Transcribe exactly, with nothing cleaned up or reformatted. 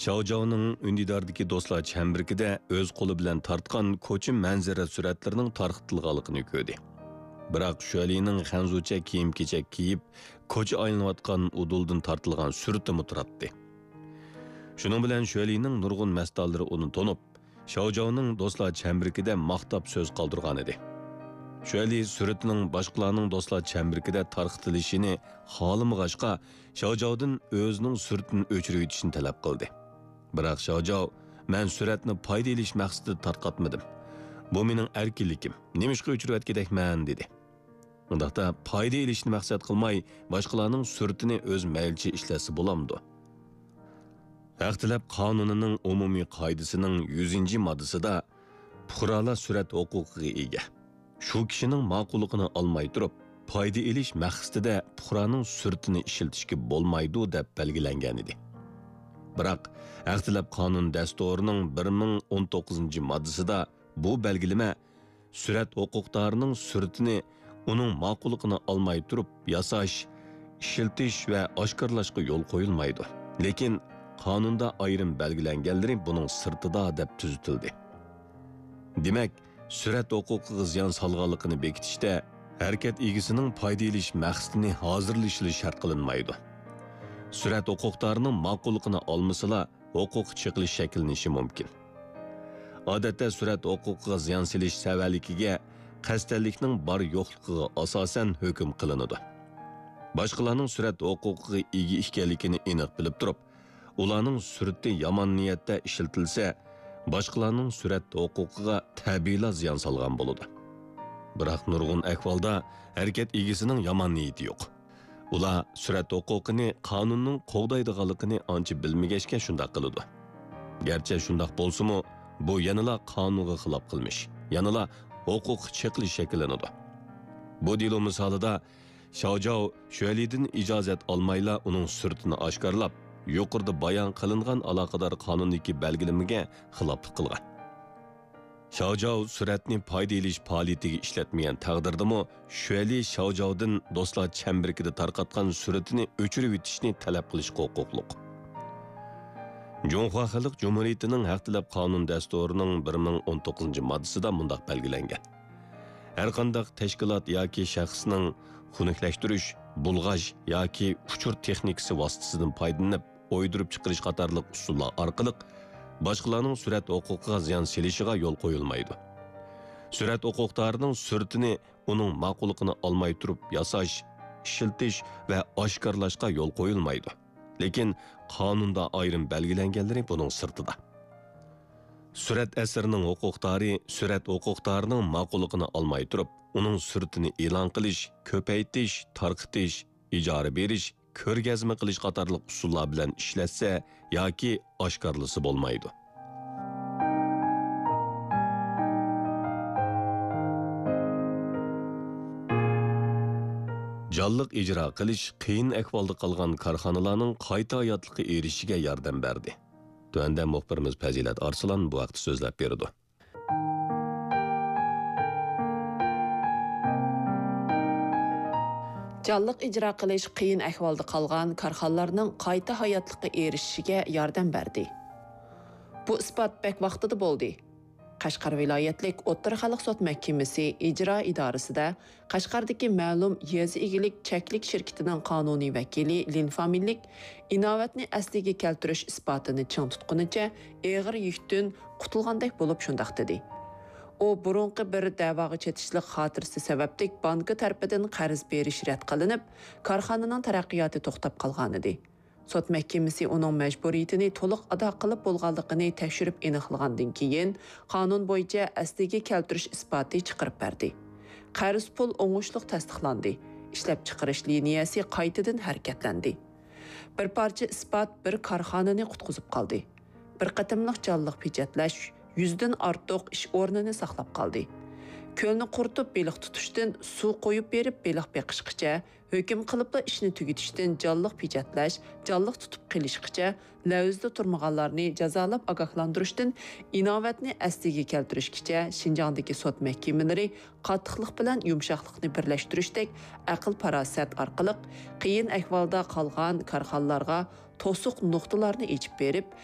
شاۋجاۋنىڭ ئۈندىداردىكى دوستلار چەمبىرىكىدە ئۆز قولى بىلەن تارتقان كوچا مەنزىرە سۈرەتلىرىنىڭ تارقىتىلغانلىقىنى كۆردى. بىراق شۈەلىنىڭ خەنزۇچە كىيىم-كېچەك كىيىپ، كوچا ئايلىنىۋاتقان ئۇدۇلدىن تارتىلغان سۈرىتىمۇ تۇراتتى. شۇنىڭ بىلەن شۈەلىنىڭ نۇرغۇن مەستانلىرى ئۇنى تونۇپ، شاۋجاۋنىڭ دوستلار چەمبىرىكىدە ماختاپ سۆز قالدۇرغانىدى. شۈەلى سۈرىتىنىڭ باشقىلارنىڭ دوستلار چەمبىرىكىدە تارقىتىلىشىنى خالىمىغاچقا، شاۋجاۋدىن ئۆزىنىڭ سۈرىتىنى ئۆچۈرۈۋېتىشنى تەلەپ قىلدى. بىراق شاۋجاۋ، «مەن سۈرەتنى پايدا ئېلىش مەقسىتىدە تارقاتمىدىم. بۇ مېنىڭ ئەركىنلىكىم. نېمىشقا ئۆچۈرۈۋەتكۈدەكمەن؟» دېدى. ئۇنداقتا پايدا ئېلىشنى مەقسەت قىلماي، باشقىلارنىڭ سۈرىتىنى ئۆز مەيلىچە ئىشلەتسە بولامدۇ؟ ھەق تەلەپ قانۇنىنىڭ ئومۇمىي قائىدىسىنىڭ يۈزىنچى ماددىسىدا پۇقرالار سۈرەت ھوقۇقىغا ئىگە. شۇ كىشىنىڭ ماقۇللۇقىنى ئالماي تۇرۇپ، پايدا ئېلىش مەقسىتىدە پۇقرانىڭ سۈرىتىنى ئىشلىتىشكە بولمايدۇ، دەپ بەلگىلەنگەنىدى. بىراق، ھەق تەلەپ قانۇن دەستۇرىنىڭ بىر مىڭ ئون توققۇزىنچى ماددىسىدا بۇ بەلگىلىمە سۈرەت ھوقۇقدارىنىڭ سۈرىتىنى ئۇنىڭ ماقۇللۇقىنى ئالماي تۇرۇپ ياساش، ئىشلىتىش ۋە ئاشكارىلاشقا يول قويۇلمايدۇ. لېكىن قانۇندا ئايرىم بەلگىلەنگەنلىرى بۇنىڭ سىرتىدا دەپ تۈزىتىلدى. دېمەك، سۈرەت ھوقۇقىغا زىيان سالغانلىقىنى بېكىتىشتە ھەرىكەت ئىگىسىنىڭ پايدا ئېلىش مەقسىتىنى ھازىرلىشىلا شەرت قىلىنمايدۇ. سۈرەت ھوقۇقدارىنىڭ ماقۇللۇقىنى ئالمىسىلا، ھوقۇق چېقىلىش شەكىللىنىشى مۇمكىن. ئادەتتە سۈرەت ھوقۇقىغا زىيان سېلىش سەۋەنلىكىگە قەستەنلىكنىڭ بار-يوقلۇقىغا ئاساسەن ھۆكۈم قىلىنىدۇ. باشقىلارنىڭ سۈرەت ھوقۇقىغا ئىگە ئىكەنلىكىنى ئېنىق بىلىپ تۇرۇپ، ئۇلارنىڭ سۈرىتى يامان نىيەتتە ئىشلىتىلسە، باشقىلارنىڭ سۈرەت ھوقۇقىغا تەبىئىيلا زىيان سالغان بولىدۇ. بىراق نۇرغۇن ئەھۋالدا ھەرىكەت ئىگىسىنىڭ يامان نىيىتى يوق. ئۇلار سۈرەت ھوقۇقىنى قانۇننىڭ قوغدايدىغانلىقىنى ئانچە بىلمىگەچكە شۇنداق قىلىدۇ. گەرچە شۇنداق بولسىمۇ، بۇ يەنىلا قانۇنغا خىلاپ قىلمىش، يەنىلا ھوقۇق چېقىلىش شەكىللىنىدۇ. بۇ دېلو مىسالىدا شاۋجاۋ شۈەلىدىن ئىجازەت ئالمايلا ئۇنىڭ سۈرىتىنى ئاشكارىلاپ، يۇقىرىدا بايان قىلىنغان ئالاقىدار قانۇندىكى بەلگىلىمىگە خىلاپلىق قىلغان. شاۋجاۋ سۈرەتنى پايدا ئېلىش پائالىيىتىگە ئىشلەتمىگەن تەقدىردىمۇ، شۈەلى شاۋجاۋدىن دوستلار چەمبىرىكىدە تارقاتقان سۈرىتىنى ئۆچۈرۈۋېتىشنى تەلەپ قىلىشقا ھوقۇقلۇق. جۇڭخۇا خەلق جۇمھۇرىيىتىنىڭ ھەق تەلەپ قانۇن دەستۇرىنىڭ بىر مىڭ ئون توققۇزىنچى ماددىسىدا مۇنداق بەلگىلەنگەن: ھەرقانداق تەشكىلات ياكى شەخسنىڭ خۇنۈكلەشتۈرۈش، بۇلغاش ياكى ئۇچۇر تېخنىكىسى ۋاسىتىسىدىن پايدىلىنىپ، ئويدۇرۇپ چىقىرىش قاتارلىق ئۇسۇللار ئارقىلىق باشقىلارنىڭ سۈرەت ھوقۇقىغا زىيان سېلىشىغا يول قويۇلمايدۇ. سۈرەت ھوقۇقدارىنىڭ سۈرىتىنى ئۇنىڭ ماقۇللۇقىنى ئالماي تۇرۇپ ياساش، ئىشلىتىش ۋە ئاشكارىلاشقا يول قويۇلمايدۇ. لېكىن قانۇندا ئايرىم بەلگىلەنگەنلىرى بۇنىڭ سىرتىدا. سۈرەت ئەسىرىنىڭ ھوقۇقدارى سۈرەت ھوقۇقدارىنىڭ ماقۇللۇقىنى ئالماي تۇرۇپ، ئۇنىڭ سۈرىتىنى ئېلان قىلىش، كۆپەيتىش، تارقىتىش، ئىجارە بېرىش، كۆرگەزمە قىلىش قاتارلىق ئۇسۇللار بىلەن ئىشلەتسە ياكى ئاشكارىلىسا بولمايدۇ. جانلىق ئىجرا قىلىش قىيىن ئەھۋالدا قالغان كارخانىلارنىڭ قايتا ھاياتلىققا ئېرىشىشىگە ياردەم بەردى. تۆۋەندە مۇخبىرىمىز پەزىلەت ئارسلان بۇ ھەقتە سۆزلەپ بېرىدۇ. جانلىق ئىجرا قىلىش قىيىن ئەھۋالدا قالغان كارخانىلارنىڭ قايتا ھاياتلىققا ئېرىشىشىگە ياردەم بەردى. بۇ ئىسپات بەك ۋاقتىدا بولدى. قەشقەر ۋىلايەتلىك ئوتتۇرا خەلق سوت مەھكىمىسى ئىجرا ئىدارىسىدە قەشقەردىكى مەلۇم يېزا ئىگىلىك چەكلىك شىركىتىنىڭ قانۇنىي ۋەكىلى لىن فامىلىلىك ئىناۋەتنى ئەسلىگە كەلتۈرۈش ئىسپاتىنى چىڭ تۇتقىنىچە ئېغىر يۈكتىن قۇتۇلغاندەك بولۇپ شۇنداق دېدى. ئۇ بۇرۇنقى بىر دەۋاغا چېتىشلىق خاتىرىسى سەۋەبلىك بانكا تەرىپىدىن قەرز بېرىش رەت قىلىنىپ، كارخانىنىڭ تەرەققىياتى توختاپ قالغانىدى. سوت مەھكىمىسى ئۇنىڭ مەجبۇرىيىتىنى تولۇق ئادا قىلىپ بولغانلىقىنى تەكشۈرۈپ ئېنىقلىغاندىن كېيىن، قانۇن بويىچە ئەسلىگە كەلتۈرۈش ئىسپاتى چىقىرىپ بەردى. قەرز پۇل ئوڭۇشلۇق تەستىقلاندى. ئىشلەپچىقىرىش لىنىيەسى قايتىدىن ھەرىكەتلەندى. بىر پارچە ئىسپات بىر كارخانىنى قۇتقۇزۇپ قالدى. بىر قېتىملىق جانلىق پېچەتلەش يۈزدىن ئارتۇق ئىش ئورنىنى ساقلاپ قالدى. كۆلنى قۇرۇتۇپ بېلىق تۇتۇشتىن سۇ قويۇپ بېرىپ بېلىق بېقىشقىچە، ھۆكۈم قىلىپلا ئىشنى تۈگىتىشتىن جانلىق پېچەتلەش، جانلىق تۇتۇپ قېلىشقىچە، لەۋزىدە تۇرمىغانلارنى جازالاپ ئاگاھلاندۇرۇشتىن ئىناۋەتنى ئەسلىگە كەلتۈرۈشكىچە شىنجاڭدىكى سوت مەھكىمىلىرى قاتتىقلىق بىلەن يۇمشاقلىقنى بىرلەشتۈرۈشتەك ئەقىل-پاراسەت ئارقىلىق قىيىن ئەھۋالدا قالغان كارخانىلارغا توسۇق نۇقتىلارنى ئېچىپ بېرىپ،